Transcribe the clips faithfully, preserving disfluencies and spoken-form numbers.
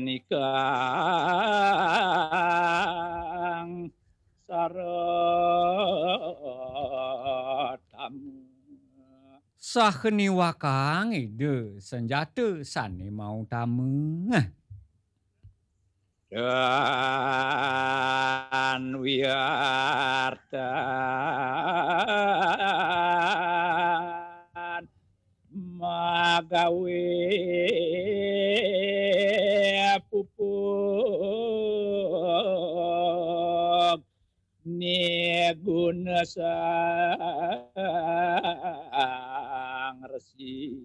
nikang sareng tamu. Saha niwakang Ida sanjata sané mautama. Dan wiartan magawé pupug niguna sang resi.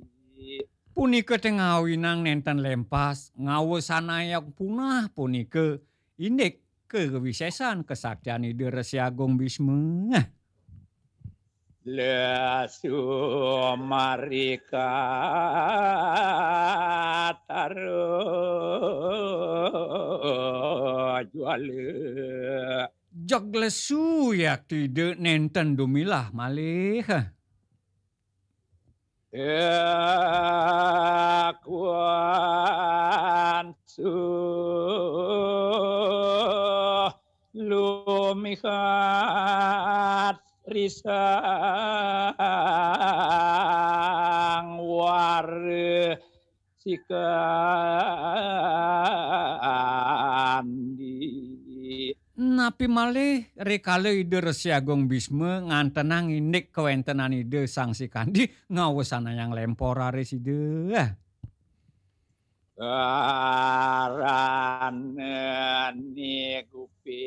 Punika té ngawinang nénten lempas, ngawesanayang punah punika indik kawisésan kasaktian Ida Resi Agung Bisma. Lesu marika tara juala. Jeg lesu yakti Ida nénten dumilah malih. Ekuan suh lumihat risang wara sikandi. Napi malih rikala Ida Resi Agung Bisma ngantenang indik kawéntenan Ida Sang Sikandi ngawesanayang lémpor raris Ida. Karana nigupi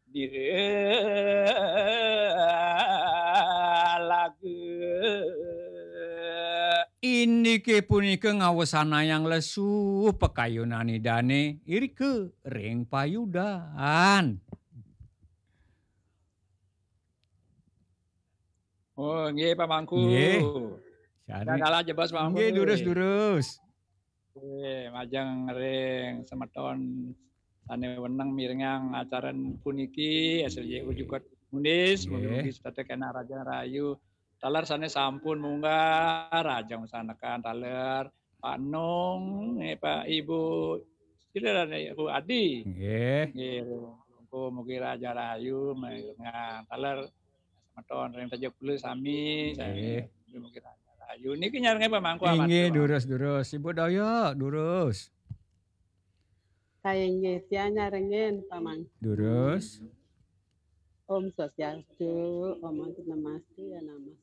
dira laga. Indiké punika ngawesanayang lesu pakayunan Idané irika ring payudan. Oh, nggih, Pak Mangku. Nggih. Sari. Dan dalah jebos, Pak Mangku. Nggih, durus, durus. Nggih, majeng ring semeton sané wenang mirengang acara puniki, S L Y U juga Unis, nggih. Mugi-mugi setata kénak rahayu. Taler sané sampun munggah, rahajeng masanekan taler. Pak Nung, eh, Pak Ibu, sira dan Ibu Adi. Nggih. Nggih, mugi rahayu mirengang. Taler semeton ring taja kula sami, sami. Nggih. Mugi rahayu. Niki nyarengin Pak Mangku. Inggih, atur, durus, durus. Ibu Daya, durus. Kaya nggih, tiang nyarengin, Pak Mangku. Durus. Om Swastiastu, Om Anti Namaste, ya Namaste.